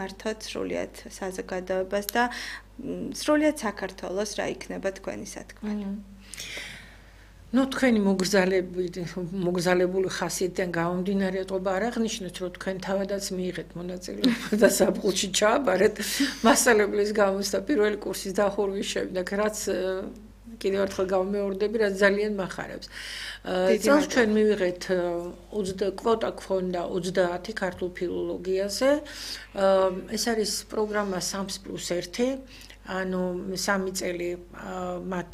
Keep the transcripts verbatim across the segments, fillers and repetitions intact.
მართოთ სრულიად საზოგადოებას და სრულიად საქართველოს რა იქნება თქვენი სათქმელი. ნუ თქვენი მოგზალებული მოგზალებული ხასიათიდან გამომდინარე ყობა არ აღნიშნეთ, რომ თქვენ თავადაც მიიღეთ მონაწილეობა და საფხულში ჩააბარეთ მასწავლებლის გამოსთა პირველი კურსის დახურვის შემდეგ, რაც კიდევ ერთხელ გამომეორდები, რაც ძალიან მახარებს. წელს ჩვენ მივიღეთ კვოტა გქონდა ოცდაათი ქართულ ფილოლოგიაზე. ეს არის პროგრამა სამს პლუს ერთი. ანუ სამი წელი მათ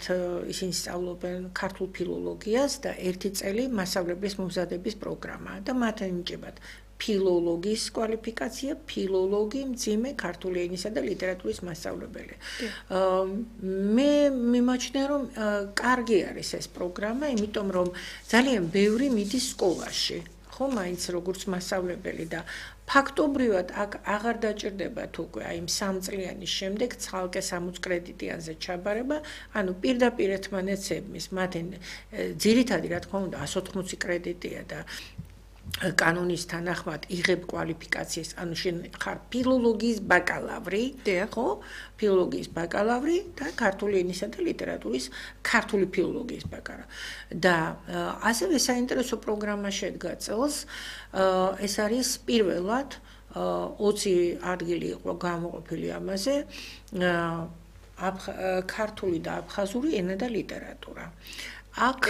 ისინი სწავლობენ ქართულ ფილოლოგიას და ერთი წელი მასწავლებლის მომზადების პროგრამა და მათ ენიჭებათ ფილოლოგის კვალიფიკაცია, ფილოლოგი, მძიმე ქართული ენისა და ლიტერატურის მასწავლებელი. მე მიმაჩნია, რომ კარგი არის ეს პროგრამა, იმიტომ რომ ძალიან ბევრი მიდის სკოლაში. ხო, მაინც როგორც მასწავლებელი და ფაქტობრივად აქ აღარ დაჭირდებათ უკვე აი იმ სამწლიანის შემდეგ ცალკე სამოცი კრედიტიანზე ჩაბარება, ანუ პირდაპირ ერთმანეთს მათი ძირითადი რა თქმა უნდა εκατს ოთხმოცი კრედიტია და კანონის თანახმად იღებ კვალიფიკაციას, ანუ შენ ხარ ფილოლოგიის ბაკალავრი, ხო? ფილოლოგიის ბაკალავრი და ქართული ენისა და ლიტერატურის ქართული ფილოლოგიის ბაკალავრი. და ასევე საინტერესო პროგრამა შედგა წელს, ეს არის პირველად ოცი ადგილი იყო გამოყოფილი ამაზე, ქართული და აფხაზური ენა და ლიტერატურა. აქ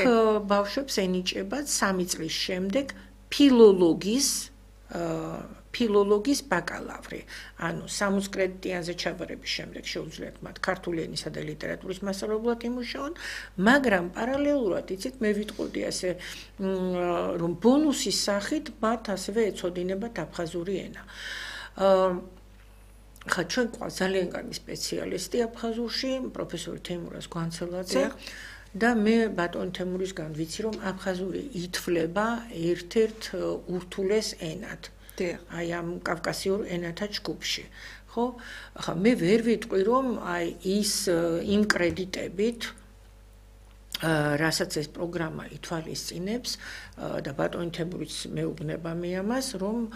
ბავშვებს ენიჭებათ სამი წლის შემდეგ ფილოლოგის ფილოლოგის ბაკალავრი. ანუ სამოცი კრედიტიანზე ჩაბარების შემდეგ შეუძლიათ მათ ქართული ენისა და ლიტერატურის მასწავლებლად იმუშაონ, მაგრამ პარალელურად იცით მე ვიტყოდი ასე რომ ბონუსის სახით მათ ასევე ეცოდინებათ აფხაზური ენა. ხა ჩვენ გვყავს ძალიან კარგი სპეციალისტი აფხაზურში, პროფესორი თეიმურაზ გვანცელაძე. და მე ბატონ თემურისგან ვიცი, რომ აფხაზური ითვლება ერთ-ერთ ურთულეს ენად. აი ამ კავკასიურ ენათა ჯგუფში. ხო? ახლა მე ვერ ვიტყვი, რომ აი ის იმ კრედიტებით რასაც ეს პროგრამა ითვალისწინებს და ბატონი თემურიც მეუბნება მე ამას, რომ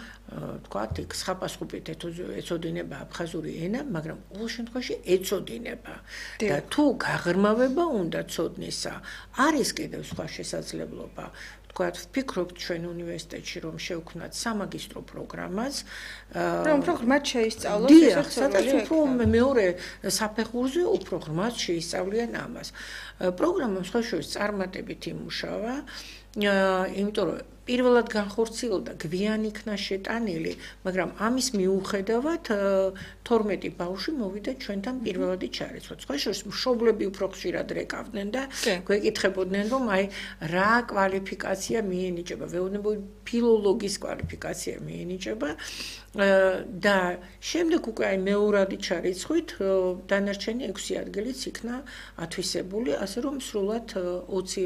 თქვათ, იქ სხაპასხუპით ეცოდინება აფხაზური ენა, მაგრამ ყოველ შემთხვევაში ეცოდინება. და თუ გაღრმავება უნდა ცოდნისა, არის კიდევ სხვა შესაძლებლობა. თქვათ, ვფიქრობთ ჩვენ უნივერსიტეტში, რომ შევქმნათ სამაგისტრო პროგრამას, რომ უფრო ღრმად შეისწავლოს ეს სადაც უფრო მეორე საფეხურზე უფრო ღრმად შეისწავლიან ამას. პროგრამა სხვა შორის წარმატებით იმუშავა, იმიტომ რომ პირველად განხორციელდა, გვიან იქნა შეტანილი, მაგრამ ამის მიუხედავად თორმეტი ბავშვი მოვიდა ჩვენთან პირველადი ჩარიცხვად. სხვა შორის მშობლები უფრო ხშირად რეკავდნენ და გვეკითხებოდნენ, რომ აი რა კვალიფიკაცია მიენიჭება, ვეუბნებოდი ფილოლოგის კვალიფიკაცია მიენიჭება და შემდეგ უკვე აი მეორადი ჩარიცხვით დანარჩენი ექვსი ადგილიც იქნა ათვისებული, ასე რომ სრულად ოცი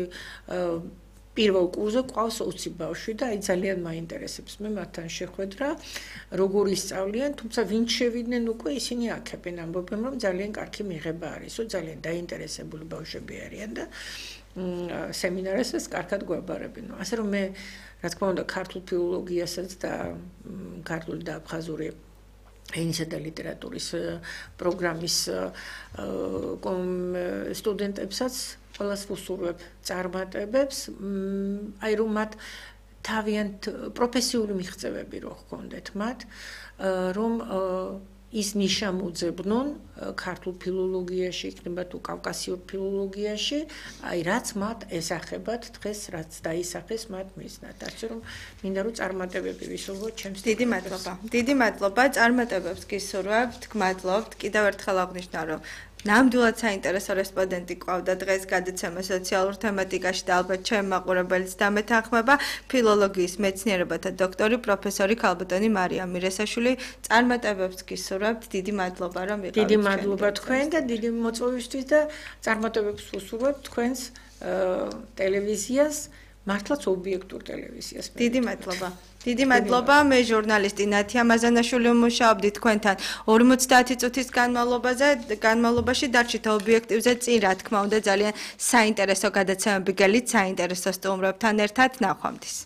პირველ კურსზე ყავს ოცი ბავშვი და აი ძალიან მაინტერესებს მე მათთან შეხვედრა, როგორ ისწავლიან, თუმცა ვინც შევიდნენ უკვე ისინი აქებენ, ამბობენ, რომ ძალიან კარგი მიღება არისო, ძალიან დაინტერესებული ბავშვები არიან და სემინარებსაც კარგად გვაბარებენ. ასე რომ მე რა თქმა უნდა ქართულ ფილოლოგიასაც და ქართული და აფხაზური ენისა და ლიტერატურის პროგრამის სტუდენტებსაც ყველას ვუსურვებ წარმატებებს, აი რომ მათ თავიანთ პროფესიული მიღწევები რო ჰქონდეთ მათ, რომ ის ნიშა მოძებნონ ქართულ ფილოლოგიაში, იქნება თუ კავკასიურ ფილოლოგიაში, აი რაც მათ ესახებათ დღეს, რაც დაისახეს მათ მიზნად. ასე რომ მინდა რომ წარმატებები ვისურვოთ ჩემს. დიდი მადლობა. დიდი მადლობა. წარმატებებს გისურვებთ, გმადლობთ. კიდევ ერთხელ აღნიშნა, რომ ნამდვილად საინტერესო რესპონდენტი ყავდა დღეს გადაცემა სოციალურ თემატიკაში და ალბათ ჩემ მაყურებელს დამეთანხმება ფილოლოგიის მეცნიერებათა დოქტორი პროფესორი ქალბატონი მარიამ მირესაშვილი. წარმატებებს გისურვებთ. დიდი მადლობა რომ ვიყავით. დიდი მადლობა თქვენ და დიდი მოწვევისთვის და წარმატებებს ვუსურვებთ თქვენს ტელევიზიას, მართლაც ობიექტურ ტელევიზიას. დიდი მადლობა. დიდი მადლობა. მე ჟურნალისტი ნათია მაზანაშვილი ვმუშაობდი თქვენთან ორმოცდაათი წუთის განმავლობაზე, განმავლობაში დარჩით ობიექტივზე წინ, რა თქმა უნდა, ძალიან საინტერესო გადაცემები გელით, საინტერესო სტუმრებთან ერთად. ნახვამდის.